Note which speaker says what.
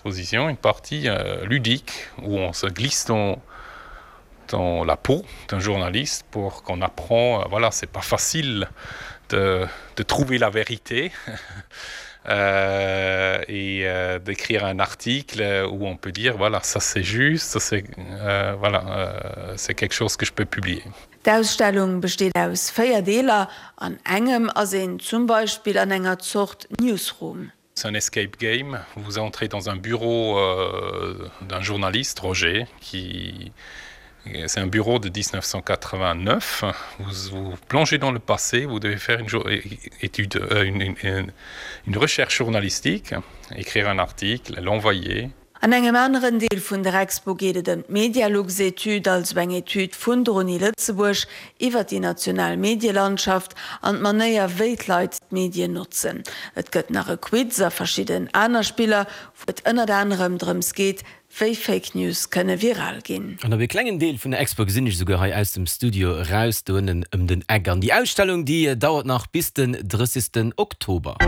Speaker 1: Exposition une partie euh, ludique où on se glisse dans dans la peau d'un journaliste pour qu'on apprend euh, voilà c'est pas facile de, de trouver la vérité euh, et euh, d'écrire un article où on peut dire voilà ça c'est juste c'est euh, voilà euh, c'est quelque chose que je peux publier.
Speaker 2: D'Ausstellung besteet aus 4 Deeler, an engem ass een zum Beispill an enger Zort Newsroom.
Speaker 1: C'est un escape game. Vous entrez dans un bureau euh, d'un journaliste, Roger, qui c'est un bureau de 1989. Vous vous plongez dans le passé, vous devez faire une étude euh, une, une, une recherche journalistique, écrire un article, l'envoyer.
Speaker 2: An engem aneren Deel vun der Expo geet et ëm d'Medialux-Etüd, also eng Etüd vun der Uni Lëtzebuerg iwwer déi national Medielandschaft an d'Manéier, wéi d'Leit d'Medien notzen. Et gëtt nach e Quiz a verschidden aner Spiller, wou et ënnert anerem drëms geet, wéi Fake News kënne viral ginn.
Speaker 3: An op ee klengen Deel vun der Expo gesinn ech esouguer hei aus dem Studio eraus, do ënnen ëm den Eck. An déi Ausstellung, déi dauert nach bis den 30. Oktober.